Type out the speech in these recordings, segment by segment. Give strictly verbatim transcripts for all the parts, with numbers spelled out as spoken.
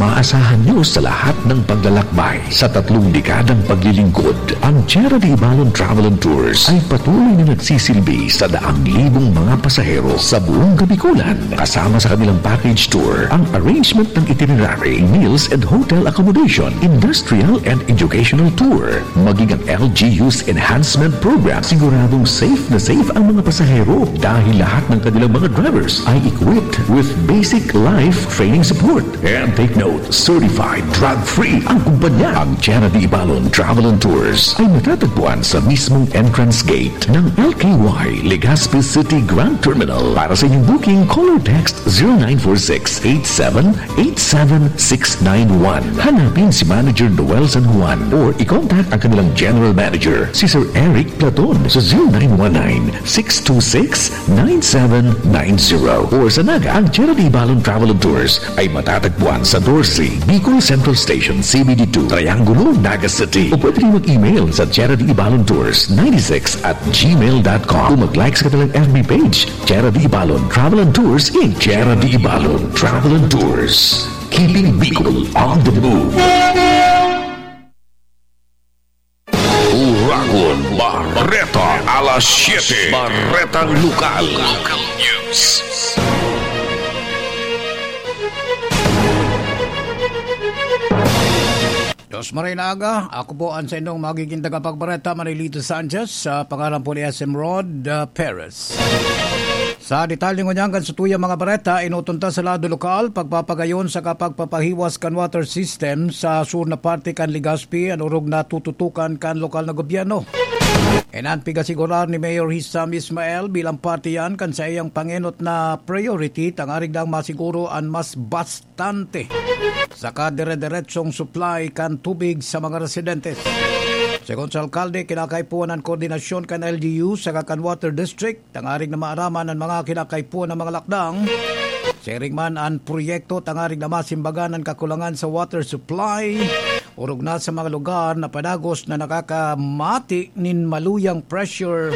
Maasahan nyo sa lahat ng paglalakbay. Sa tatlong dekadang paglilingkod, ang Tierra de Ibalon Travel and Tours ay patuloy na nagsisilbi sa daang libong mga pasahero sa buong Kabikulan. Kasama sa kanilang package tour, ang arrangement ng itinerary, meals and hotel accommodation, industrial and educational tour, maging ang L G U's enhancement program. Siguradong safe na safe ang mga pasahero dahil lahat ng kanilang mga drivers ay equipped with basic life training support. And take note, certified drug-free ang kumpanya. Ang Tierra de Ibalon Travel and Tours ay matatagpuan sa mismong entrance gate ng L K Y Legazpi City Grand Terminal. Para sa inyong booking, call or text zero nine four six eight seven eight seven six nine one. Hanapin si Manager Noel San Juan or i-contact ang kanilang General Manager, si Sir Eric Platon, sa zero nine one nine six two six nine seven nine zero. Or sa Naga, ang Tierra de Ibalon Travel and Tours ay matatagpuan sa doce Bicol Central Station, C B D two, Triangulo, Naga City. O pwede rin mag-email sa Tierra de Ibalon Tours ninety six at gmail dot com o mag-like sa kanilang F B page, Tierra de Ibalon Travel and Tours in Tierra de Ibalon Travel and Tours. Keeping Bicol on the move. Uragon Bareta, alas siyete, Baretang Lokal. Local News. Diyos maray na aga, ako po ang sa inyong magiging tagapagbareta, Manilito Sanchez, sa pangalan po ni S M Rod, ah, Perez. Sa detalye ngunyan kan satuyang mga bareta, inutunta sa lado lokal, pagpapagayon sa kapagpapahiwas kan water system sa sur na parte kan Legazpi, an orog na tututukan kan lokal na gobyerno. Inan pigasigurar ni Mayor Hisham Ismael bilang parte yan kan saiyang pangenot na priority, tangarig dang masiguro an mas bas tante saka dire-diretsong supply kan tubig sa mga residentes. Segun sa alkalde, kinakaipuhan an koordinasyon kan L G U saka kan Water District tangarig na maaraman an mga kinakaipuhan na mga lakdang. Siring man an proyekto tangarig na masimbagan an kakulangan sa water supply, orog na sa mga lugar na padagos na nakakamati nin maluyang pressure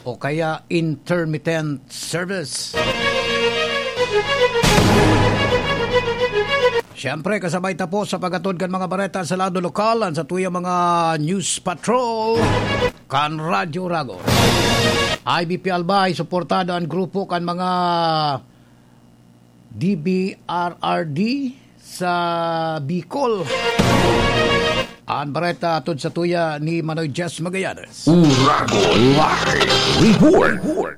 o kaya intermittent service. Siyempre, kasabay ta po sa paghatod kan mga bareta sa lado lokal, an satuyang mga news patrol kan Radyo Uragon. I B P Albay, suportado an grupo kan mga D B R R D sa Bicol. An bareta hatod satuya ni Manoy Jess Magallanes. Uragon Live Report.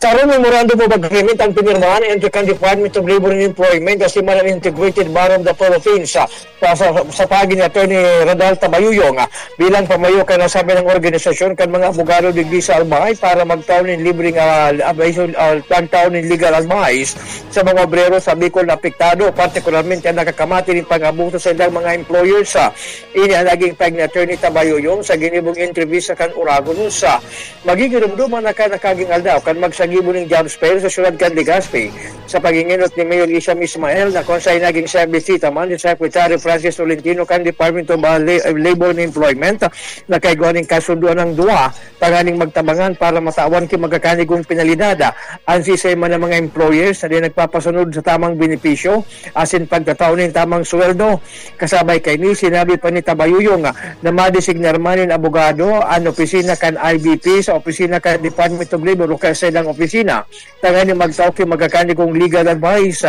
Sa memorandum of agreement ang pinirmahan entre kan Department of Labor and Employment asin man an Integrated Bar of the Philippines, ah, sa, sa, sa pagi ni Attorney Radal Tabayuyong, ah, bilang pamayo kan nasabi ng organisasyon kan mga abogado digdi sa Albay para magtao nin libreng, ah, abayo, ah, magtao nin legal advice sa mga obrero sa Bicol na apektado, partikularmente ang nakakamati nin pang-abuso sa ilang mga employers, ah. Ini ang naging pahayag ni Attorney Tabayuyong sa ginibong entrevista kan Uragon News, ah. Magigiromdoman na kan nakaging aldaw kan magsagibo nin job fair sa siyudad kan Legazpi, sa pag-enot ni Mayor Hisham Ismael na kun saen naging siyang bisita man ni Secretary Francis Tolentino kan Department of, uh, La-, Labor and Employment, na kaigwa nin kasundoan ang duwa tanganing magtabangan para matawan ki magkakanigong penalidad an siisay man na mga employers na di nagpapasunod sa tamang benepisyo asin pagtatao nin tamang sweldo. Kasabay kaini, sinabi pa ni Tabayuyong na madesignar man nin abogado an opisina kan I B P sa opisina kan Department of Labor o kaya sa ilang opisina tanganing magtao ki magkakanigong legal advice.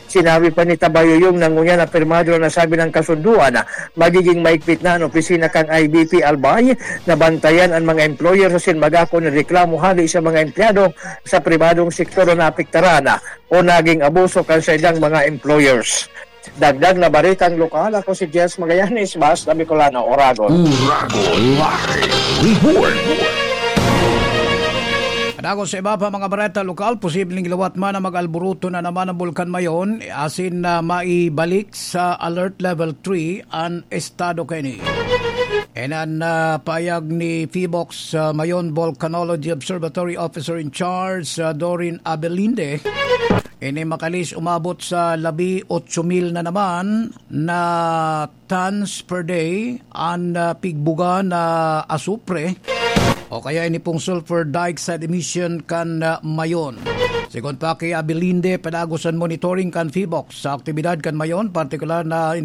Sinabi pa ni Tabayuyong na ngunyan na pirmado na nasabi ng kasunduan, magiging maigpit na an opisina kan I B P Albay na bantayan an mga employer asin mag-ako nin reklamo hali sa mga empleyado sa pribadong sektor na naapektaran o naging abuso kan sa ilang mga employers. Dagdag na baretang lokal, ako si Jess Magallanes, Basta Bicolano, Oragon. Uragon Live Report. Dagos sa iba pa mga bareta lokal, posibleng liwat man na mag-alboroto na naman ang Bulkan Mayon, asin na maibalik sa Alert Level three an estado kaini. Inan na pahayag ni PHIVOLCS, ah, Mayon Volcanology Observatory Officer in Charge, ah, Dorin Abelinde. Ini makalis umabot sa labi otso mil na naman na tons per day an, ah, pigbuga na asupre o kaya ini pong sulfur dioxide emission kan, ah, Mayon. Sigon pa ki Abelinde, padagos an monitoring kan PHIVOLCS sa aktibidad kan Mayon, partikular na ini